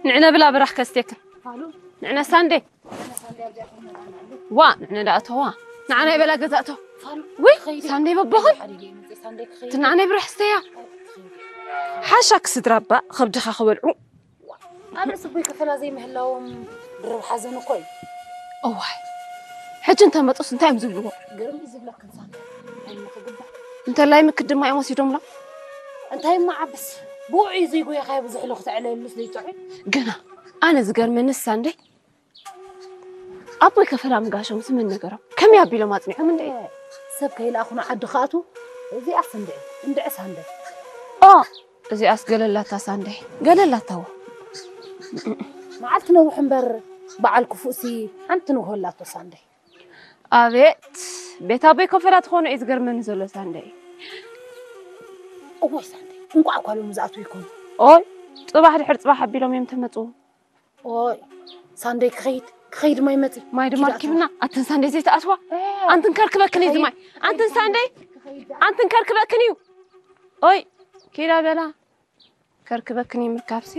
ንዕነ ብላ ብራኽ ከስቴክን። ንዕነ ሳንዴ። ዋ፣ ንዕነ ዳእተዋ። ንዓና ይበላ ገዛእቶ። ወይ፣ ሳንዴ በቦኽን። ትናዓናይ ብራህ ስተያ። ሓሻ ክስድራ እባ፣ ኸብድኻ ክበልዑ። ኣብ ርእሲ ኣቦይ ከፈላ ዘይምህላዎም ድርብ ሓዘን እኮ እዩ። እዋይ፣ ሕጂ እንተመጡስ እንታይ እዮም ዝብልዎ? ግርም እዩ ዝብለክን ሳንዴ። እንታይ ምኽግባእ? እንተላይ ምክድ ድማ እዮም ወሲዶምላ። እንታይ እሞ ዓብስ፣ ብውዑይ ዘይጎየኻዮ ብዙሕ ኢሉ ክተዕለየሉስ ዘይጥዑይ? ግና ኣነ ዝገርመኒ ሳንዴ፣ ኣቦይ ከፈላ ምጋሾም ስምን ነገሮም ከመይ ኣቢሎም ኣጽኒዖም እንዴ? ሰብ ከይለኣኹ ንዓዲ ክኣትዉ፣ እዚኣስ እንድዒ፣ እንድዒ ሳንዴ። ኦ፣ እዚኣስ ገለላታ ሳንዴ፣ ገለላታዎ። መዓልቲ ነውሕ እምበር በዓል ክፉእሲ ሓንቲ ንግሆ ኣላቶ ሳንዴ። ኣቤት፣ ቤት ኣቦይ ከፈላ ትኾኖ እዩ ዝገርመኒ ዘሎ ሳንዴ። እዋይ ሳንዴ፣ እንቋዕ እኳ ሎም ዝኣትዉ ይኮኑ። ኦይ፣ ጽባሕ ድሕሪ ጽባሕ ኣቢሎም እዮም ተመጽኡ። ኦይ ሳንዴ፣ ክኸይድ ክኸይድ፣ ማይ መጺ። ማይ ድማ ኪድ ኣትዋ። ኣርኪብና። ኣትን ሳንዴ ዘይተኣትዋ። ኣንትን ከርክበክን እዩ ዝማይ። ኣንትን ሳንዴ፣ ኣንትን ከርክበክን እዩ። ኦይ፣ ኪዳ በላ። ከርክበክን እዩ ምርካብሲ።